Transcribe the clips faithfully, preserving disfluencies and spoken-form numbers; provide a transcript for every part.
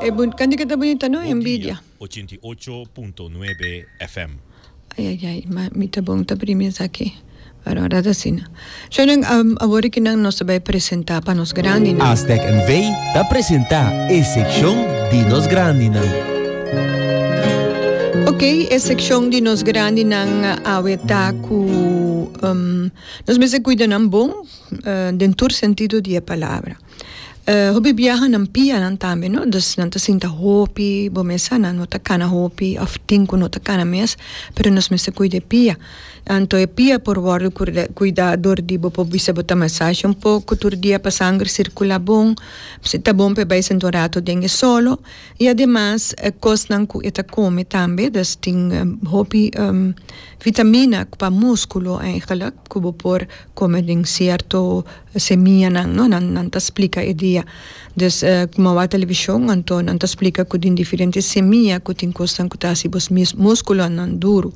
E bun, kantika ta bunita, no? Bon Envidia. Dia, ochenta i ocho punto nuebe F M. Ai, ai, ai, ma mi ta bon ta primi esaki. Pero ora ta asina. Shonan, um, awor aki nan nos ta bai presentá pa nos grandinan. Aztec N V ta presentá e sekshon di nos grandinan. Ok, e sekshon di nos grandinan awe ta ku um, nos mester kuida nan bon, uh, den tur sentido di e palabra. Uh, hopi biaha nan pianan tambe, no? Dus nan ta sinta hopi, bo mes sa, nan no ta kana hopi, òf tin ku no ta kana mes, pero nos mester kuida e pia. Anto e pia por wòrdu kuida dor di bo por bisa bo ta masashi un poko tur dia pa sanger sirkulá bon, si ta bon pa e bai sinta un rato den e solo, i ademas e kosnan ku e ta kome tambe, dus tin hopi vitamina pa muskulo eigenlijk ku bo por kome den sierto semianan, no? Nan nan ta splika e dia. Dus ku wak televishon, anto nan ta splika ku tin diferente semia ku tin kosnan ku ta hasi bo muskulonan duru.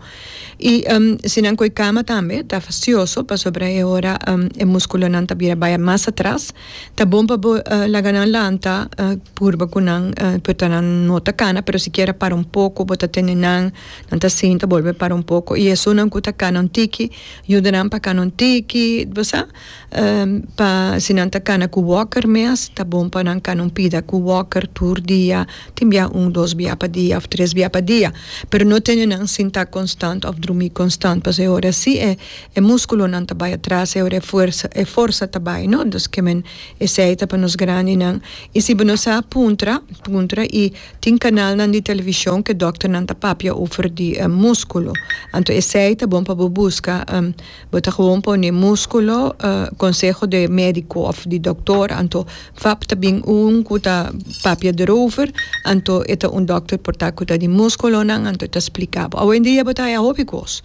I um, si nan koi kama tambe ta fastioso pasobra e ora um, e muskulonan ta bira bai mas atras. Ta bon pa bo uh, laga nan lanta, uh, purba ku nan, uh, por ta nan no ta kana, pero sikiera para un poko, bo ta tene nan, nan ta sinta, bolbe para un poko. I esunnan ku ta kana un tiki, yuda nan pa kana un tiki, bo sa? Um, pa si nan ta kana ku walker mes, ta bon pa nan kana un pida ku walker tur dia, tin bia un, dos bia pa dia òf tres bia pa dia. Pero no tene nan sinta konstant òf drumi konstant, pasobra e ora si e, e muskulonan ta bai atras, e ora e forsa, e forsa ta bai, no? Dus ke men esei ta pa nos grandinan. I si bo no sa, puntra, puntra i tin kanalnan di televishon ku dòkternan ta papia over di uh, muskulo. Anto esei ta bon pa bo buska, um, bo ta gewoon pone muskulo, uh, konseho di médiko òf di dòkter, anto fap ta bin un ku ta papia erover, anto e ta un dòkter por ta ku ta di muskulonan, anto ta splika bo. Awendia bo ta haya hopi kos.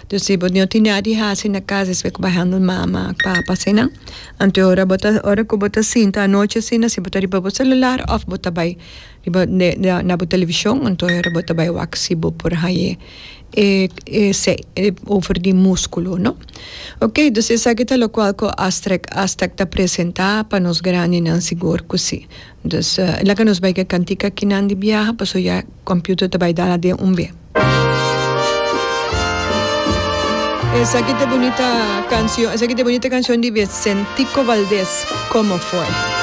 Dus si bo no tin nada di hasi na kas, despues ku bo handel mama, papa, asina, anto ora bo ta, ora ku bo ta sinta anochi asina, si bo ta riba bo selular òf bo ta bai riba na, na bo televishon, anto ora bo ta bai wak si bo por haya e, e, se, e over di muskulo, no? Ok, dus esaki ta lokual ku Astrek, Aztec ta presentá pa nos grandinan, sigur ku si. Dus uh, laga nos bai ku kantika kinan di biaha, paso ya computer ta bai dal den un be. Esaki ta bunita kanshon, esaki ta bunita kanshon di Vicentico Valdés, "Cómo fue?"